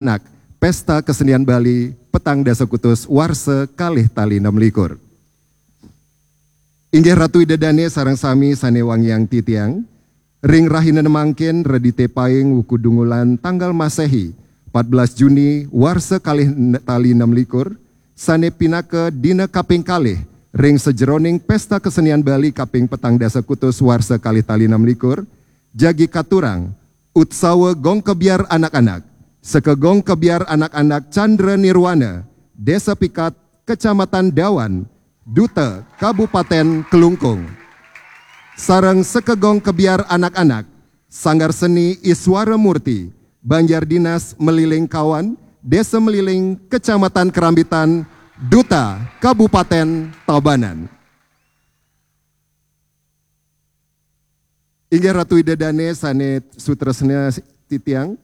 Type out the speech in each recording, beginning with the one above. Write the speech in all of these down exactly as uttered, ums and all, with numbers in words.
anak Pesta Kesenian Bali petang dasa kutus warsa kalih tali enam likur. Inggih Ratu Ida Dane sareng sami sane wangiang titiang, ring rahina mangkin Redite Paing wuku Dungulan tanggal Masehi, empat belas Juni warsa kalih tali enam likur, sane pinaka dina kaping kalih ring sajeroning Pesta Kesenian Bali kaping petang dasa kutus warsa kalih tali enam likur, jagi katurang Utsawa Gong Kebyar Anak-anak, Sekegong Kebyar Anak-anak Chandra Nirwana, Desa Pikat, Kecamatan Dawan, Duta Kabupaten Klungkung. Sareng Sekegong Kebyar Anak-anak, Sanggar Seni Iswara Murti, Banjar Dinas Meliling Kawan, Desa Meliling, Kecamatan Kerambitan, Duta Kabupaten Tabanan. Inggih Ratu Ida Dane sane sutresna titiang,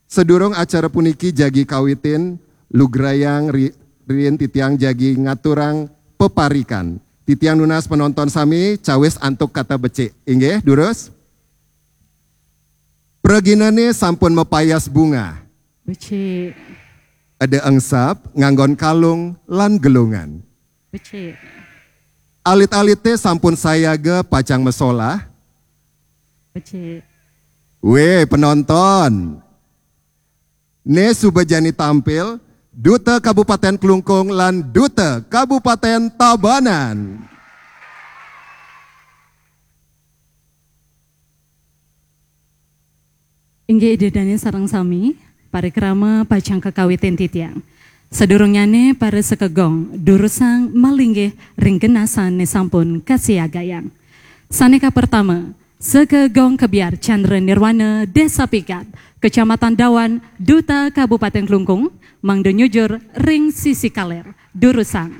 sadurung acara puniki jagi kawitin, lugrayang ri-, riin titiang jagi ngaturang peparikan. Titiang nunas penonton sami cawis antuk kata becik. Inggih, durus. Praginane sampun mapayas bunga. Becik. Ada engsap nganggon kalung lan gelungan. Becik. Alit-alite sampun sayaga pacang masolah. Becik. Weh, penonton. Ne suba jani tampil, Duta Kabupaten Klungkung lan Duta Kabupaten Tabanan. Inggih Ida Dane sareng sami, parikrama pacang kakawitin titiang. Sadurungnyane para sekegong, durusang malinggih ring genasan ne sampun kasiagayang. Sane kapertama, Sekegong Kebyar Chandra Nirwana, Desa Pikat, Kecamatan Dawan, Duta Kabupaten Klungkung, mangda nyujur ring sisi kaler. Durusang.